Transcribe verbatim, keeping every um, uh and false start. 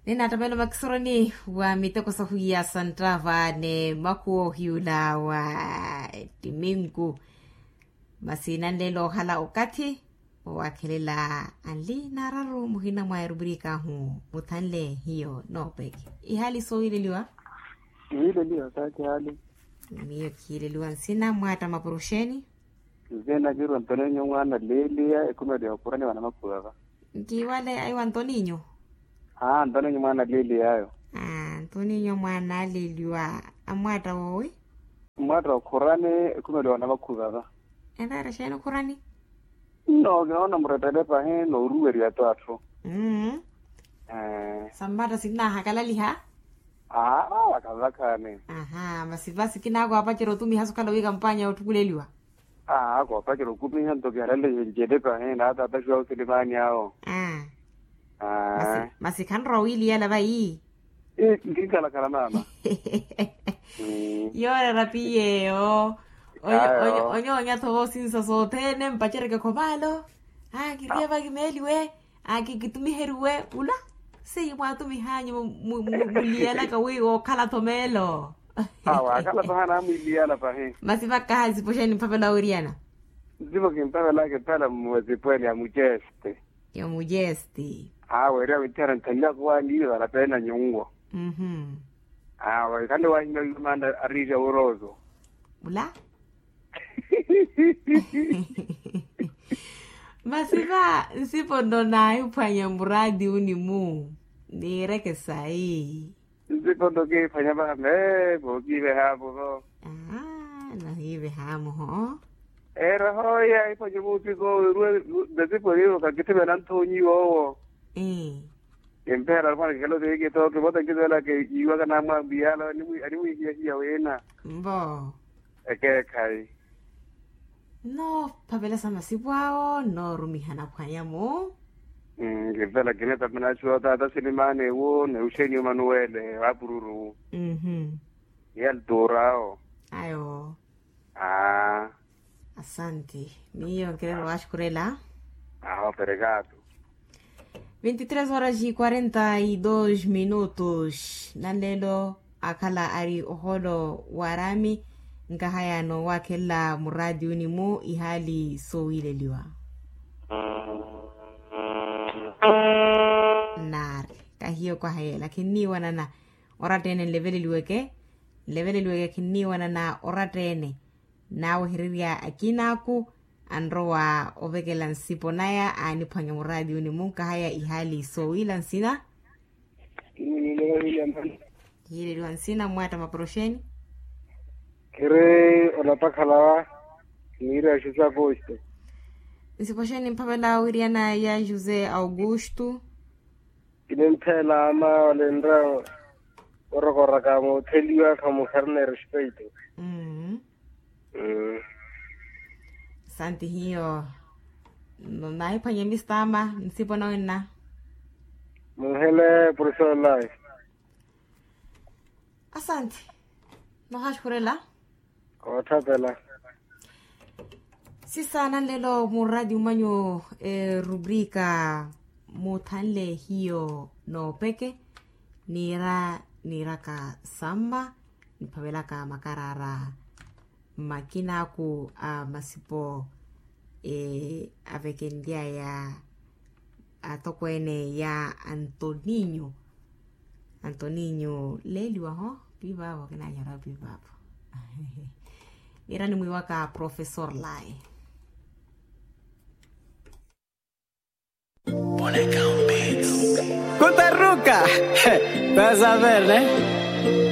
Ninattamelo makisoroni wa miteko sahwiya santtava ni makhuwa ohiyula wa timingu. Masi nanleela okhala okathi owakhelela anli naararu muhina mwa eruburikahu muthanle hiyo noopeke. Ihaali soowileliwa? Iwileliwa saati haali. Miyo khiileliwa nsina mwaatta mapuruxeni. Nzina kiru antoninyo mwaana leeliya ekhumeliwa okhurani wa namakhuwa va. Nkiwale aiwa antoninyo. Aa antoninyo mwaana leeliya ayo. Antoninyo mwaana aleeliwa. Amwaatta woowi? Mwaatta okhurani ekhumeliwa namakhuwa va. Enreera xeeni okhurani? Nno kinoona murettele pahi nooruweriya to atthu. Sammaatta sinnaahakalaliha. Aa vakhavakhaani. Masi va sikinaako apacerya otumiha sukhala wi kampaanya yootthukuleliwa. Aa koopacerya okumiha nto kihalalihe ncele pahi naataataxiwa osilimaani awo. Masi khanrowa owiiliyala vayi. Nkinkhalakhala maama. Yooreera piyeeyo. Onyoonya-tho voosinsa sothene mpaceryeke khomaalo. Aa kiriye vakimeeliwe. Aa kikitumiheriwe ula. Seiye mwaatumihanyu muliyalaka wi wookhala-tho meelo. Aa waakhala-tho haana amwiiliyala pahi. Masi vakhaha nsipo xeeni mphapela wooweriyana? Nsipo kimpapelaka epala mwa sipo ene ya muceste. Ya muceste. Aa weeriwa mitthiyana nthanlyaka owaaniiva na peena nyunwo. Aa khale waahimya wiiva maana ariirya wuroozo. Mula. Masi va nsipo nno naahiphwanya muraati uni-mu. Niireke sayi. Nsipo nno kihiphwanya vaha meepo kiivehaapo vo. Nahiivehaamuho. Eera hooya ahiphwanya omuupiko owo eruwe. Nasipo niivo kakithimela nthoonyi woowo. Kimpeela alupwana kikhela oteekitho kivota nkitwelaka iwaka namwambiya ala animwihiyahiya wina. Mbo. Ekeekhayi. Nnoophavelesa masipu awo nnoorumihana khwanya-mu. Nkivela kineeta pinaxiwa otaata silimaani ewo ni uxeniyo manuwele waapururu. Ni altura awo. Ayo. Aa. Asanti. Miyo nkireera owaxukhurela. Awo perekatu. Vinti tres horas e quarenta e dos minutos nanleelo akhala ari ohoolo w'araami. Nkahaya noowakhelela muraatiyuni-mu ihaali soowiileliwa. Naari kahiyo kwaha yeela khinniiwanana. Oratta-ene nleveleliweke nleveleliweke khinniiwanana oratta-ene. Naawehererya akina-aku anrowa ovekela nsipo naya aaniphwanya muraatiyuni-mu nkahaya ihaali soowiila nsina. Hiileliwa nsina mmwaatta maporoxeni. Khiri olapakhala wa niiriya josé augusto. Nsipo xeeni mphavela wiriyanaya josé augusto. Kininttheela ama olenra orokoraka mootheliwa khamukhari ni respeito. Asanti hiyo. Naahiphwanya mistama nsipo nawenna. Munhele profesor lai. Asanti. Nohaxukhurela. Koothapela. Sisa nanlelo muraatiyo manyu erubrika muthanle hiyo noopeke. Niira niiraka samma niphavelaka makaraara mmakinaaku a masipo avekenly'aya atokweene ya antoninyo. Antoninyo leeliwa ho piivaavo kinaanyara piivaavo. Niira nimwiiwaka profesor lai. Kutaruka. Vas a ver ne.